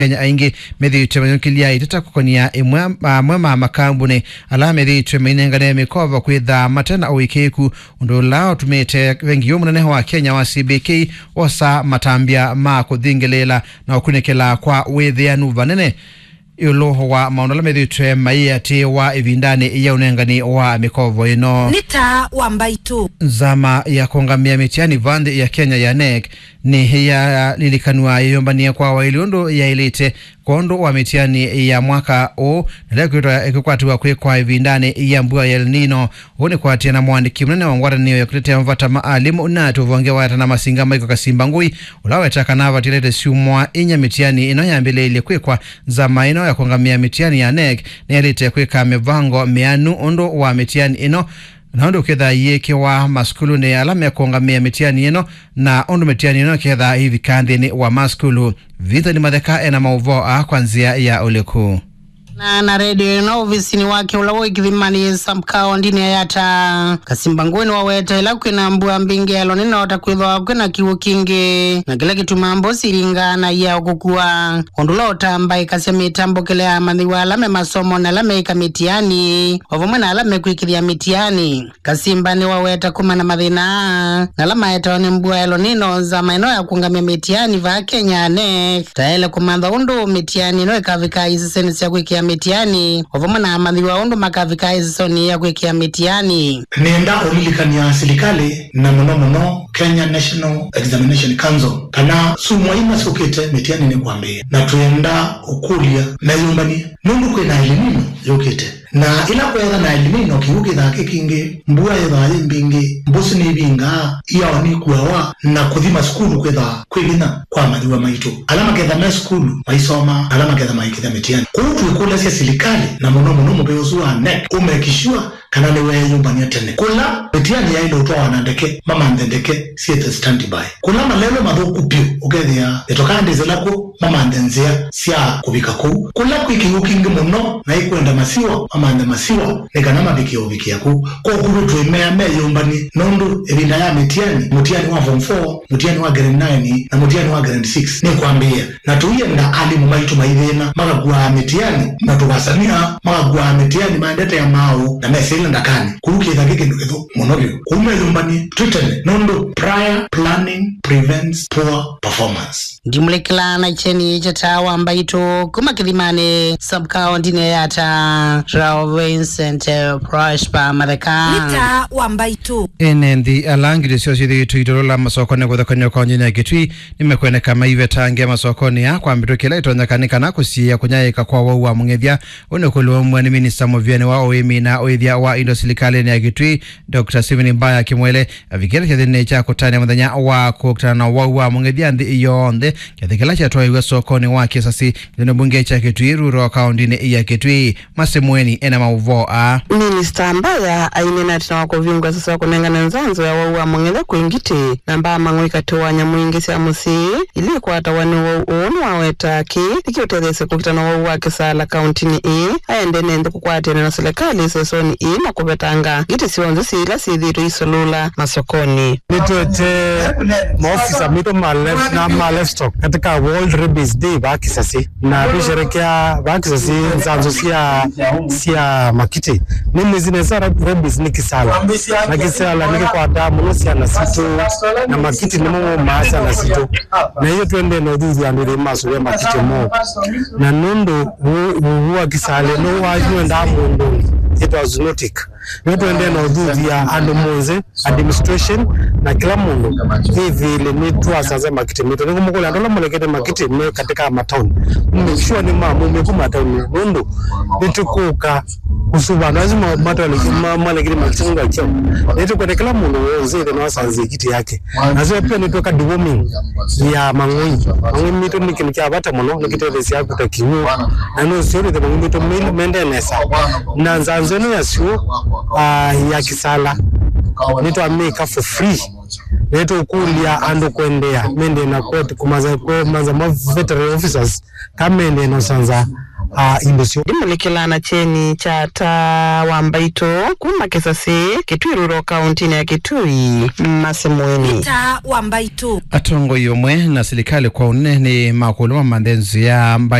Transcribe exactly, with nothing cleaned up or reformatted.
Kenya aingĩ methĩĩtwe mayũkĩlya iteta kũkonia ĩmwe, amwe ma makambunĩ ala methĩĩtwe mainengane mĩkovo kwĩthaa mate na ũĩkĩĩku, ũndũ ũla ũtumĩte vengi yũ mũnene wa Kenya wa C B K wosa matambya ma kũthingĩlĩĩla na ũkunĩkĩla kwa wĩthĩanu vanene ĩũlũ wa maũndũ ala methĩĩtwe maiatĩĩwa ĩvindanĩ ya ũnengani wa mĩkovo ĩno. Nĩ taa wa mbaitũ. Nzama ya kũũngamĩa mĩtiani va nthĩ ya Kenya ya nec nĩyalilikanw'a yĩyũmbany'e kwa waĩlu ũndũ yaĩlĩte kwondũ wa mĩtiani ya mwaka ũũ, na ĩla ĩkwĩtwa ĩkĩkwatĩwa kwĩkwa ĩvindanĩ ya mbua ya El Nino. Ũu nĩ kũatĩĩa na mũandĩki mũnene wa ngwatanĩo ya kũtetea mavata ma alimũ na ũvonge wa ata na masinga Michael Kasimba Ngui, ũla waweta kana vatialĩte syumwa inya mĩtiani ĩno yambĩlĩĩlye kwĩkwa. Nzama ĩno ya kũũngamĩa mĩtiani ya nec nĩyaĩlĩte kwĩka mĩvango mĩanu ũndũ wa mĩtiani ĩno, na ũndũ ũkethaa ĩyĩkĩwa masukulunĩ ala mekũũngamĩa mĩtiani ĩno, na ũndũ mĩtiani ĩno ĩkethaa ĩivika nthĩnĩ wa masukulu. Vithoni Matheka ena maũvoo aa kwa nzĩa ya ũliku. Na, na redio ĩno ovisinĩ wake ũla wĩ Kĩthimanĩ sub-county-nĩ ya Yatta, Kasimba Ngui nĩwaweta ĩla kwĩna mbua mbingĩ ya El Nino ta kwĩthwa kwĩna kĩw'ũ kingĩ, na kĩla kĩtumaa mbũsi iringaa na ia ũkũkua, ũndũ ũla ũtambaĩkasya mĩtambũkĩle ya amanyĩw'a ala me masomo na ala meĩka mĩtiani, o vamwe na ala mekwĩkĩthya mĩtiani. Kasimba nĩwaweta kumana na mathĩna aa, na ala maetawa nĩ mbua ya El Nino, nzama ĩno ya kũũngamya mĩtiani vaa Kenya nec tayaĩle kũmantha ũndũ mĩtiani ĩno ĩkavika isesonĩ sya kwĩkĩa mĩtiani, o vamwe na amanyĩw'a ũndũ makavika isesonĩ ya kwĩkĩa mĩtiani. Nĩenda ũlilikany'a silikalĩ, na mũno mũno Kenya National Examination Council, kana syumwa ina syũkĩte mĩtiani nĩkwambĩĩa, na twĩenda ũkũlya meyũmbany'e nũndũ kwĩna El Nino yũkĩte. Na ĩla kweetha na El Nino, kĩw'ũ kĩthaa kĩ kingĩ, mbua yĩthaa yĩ mbingĩ, mbũsĩ nĩivingaa, iao nikuawa, na kũthi masukulu kwĩthaa kwĩ vinya kwa amanyĩw'a maitũ. Ala maketha me sukulu maisoma, na ala maketha maikĩthya mĩtiani. Kwoou twĩkũlasya silikalĩ, na mũno mũno mũvĩa ũsu wa nec, ũmake sure kana nĩweeyũmbany'a tene. Kũla mĩtiani yaĩle ũtwawa na ndeke, mamanthe ndeke syĩthe standby. Kũla malelũ mathũku vyũ, ũkethĩa ĩtokaa ndĩsĩla kw'o, mamanthe nzĩa sya kũvika kũu. Kũla kwĩ kĩw'ũ kingĩ mũno na ĩkwenda masiwa, mamanthe masiwa nĩ kana mavike ũvikĩa kũu. Kwoou twĩmea meyũmbany'e, nũndũ ĩvinda ya mĩtiani, mũtiani wa form four, mũtiani wa grade nine, na mũtiani wa grade six nĩkwambĩĩa. Na tũienda alimũ maitũ maithĩna, makakuaa mĩtiani, na tũvasania makakuaa mĩtiani maendete ya maaũ na mesĩle ndakanĩ. Kũu kĩtha kĩ kĩndũ kĩthũku mũno vyũ. Kũu meyũmbany'e twĩ tene, nũndũ prior planning prevents poor performance. Ndimũlĩkĩla na kyeni kya taa wa mbaitũ kuma Kĩthimanĩ, sub-county-nĩ ya Yatta, Rao Vincent, eh, Prosper Matheka. Nĩ taa wa mbaitũ. Ene nthĩ ala ngitĩ syoo syĩthĩĩtwe itolola masokonĩ kũthekany'a kaũntĩnĩ ya Kitui nĩmekwoneka maivetange masokonĩ aa kwa mbĩtũkĩ ĩla ĩtonyeka nĩ kana kũsiĩĩa kũnyaĩĩka kwa wau wa mũng'ethya. Ũũ nĩ kũlũmw'a nĩ minista mũvĩanĩ wa ũĩmi na ũĩthya wa indo silikalĩnĩ ya Kitui, Doctor Stephen Mbaya Kimwele, avikĩte kyathĩnĩ kya kũtanĩa mũthenya wa kũkitana na wau wa mũng'ethya nthĩ yonthe, kyathĩ kĩla kyatwaĩwe sokonĩ wa Kĩsasi, kĩthĩnĩ mbunge kya Kitui Rural, kaũntĩnĩ ya Kitui. Masemweni ena maũvoo aa. Minista Mbaya aineena ĩtina wa kũvingũa sasa wa kũnengane nzanzo ya wau wa mũng'ethya kwĩ ngitĩ na mbaa mang'oi katĩ wa nyamũ ingĩ sya mũsyĩ ila ikwatawa nĩ wau ũũ. Nĩwaweta kĩĩ nĩkĩũtetheesye kũkitana wau wa kĩsala kaũntĩnĩ ĩĩ. Aendee na nthĩ kũkwatĩana na silikalĩ sesonĩ ĩĩ na kũvetanga ngitĩ syonthe syĩ ila syĩthĩĩtwe isolũla masokonĩ. Nĩtwete maofisa maitũ ma live-, na ma livestock katika World Rabies Day vaa Kĩsasi, na tũisherekea vaa Kĩsasi nzanzo sya, sya makitĩ. Nĩmwĩsĩ nesa rab-, rabies nĩ kĩsala, na kĩsala nĩkĩkwataa mũno syana sitũ, na makitĩ nĩmo maumaa syana sitũ. Na iyo twendee na ũthuthya andũ ĩthĩ masũvĩa makitĩ moo. Na nũndũ ũu, ũu wa kĩsala nĩwendaa mũndũnĩ, yĩtawa zoonotic. Nĩtwendee na ũthuthya andũ monthe, administration, na kĩla mũndũ ĩthĩĩle nĩtwasanza makitĩ maitũ. Nĩkũmũkũlya andũ ala malekete makitĩ me katika mataoni, make sure nĩmamumĩku mataoni, nũndũ nĩtũkũka kũsuva andũ asu ma-, matwalekile, ma-, malekile makitĩ nũndũ wa kyaũ. Nĩtũkwenda kĩla mũndũ w'onthe ĩthĩe nĩwasanzĩe kĩtĩ yake. Nasyo pia nĩtwĩka deworming ya mang'oi. Mang'oi maitũ nĩ kĩndũ kya vata mũno, nĩkĩtetheesyaa kũta kĩw'ũ. Na nũseo nĩthe mang'oi maitũ me-, mendee nesa. Na nzanzo ĩno ya syũa, ah, ya kĩsala, nĩtwamĩka for free. Nĩtũkũlya andũ kũendeea mendee na kwet-, kũmanza, kũmanza ma veterinary officers, ka mendee na ũsanza a indo syo. Ndimũlĩkĩla na kyeni kya Taa wa Mbaitũ kuma Kĩsasĩ, Kitui Rural, kauntinĩ ya Kitui, Masemweni. Taa wa Mbaitũ. Atongoi vamwe na silikalĩ kwa ũnene nĩ makũlwa manthe nzĩa mbaitũ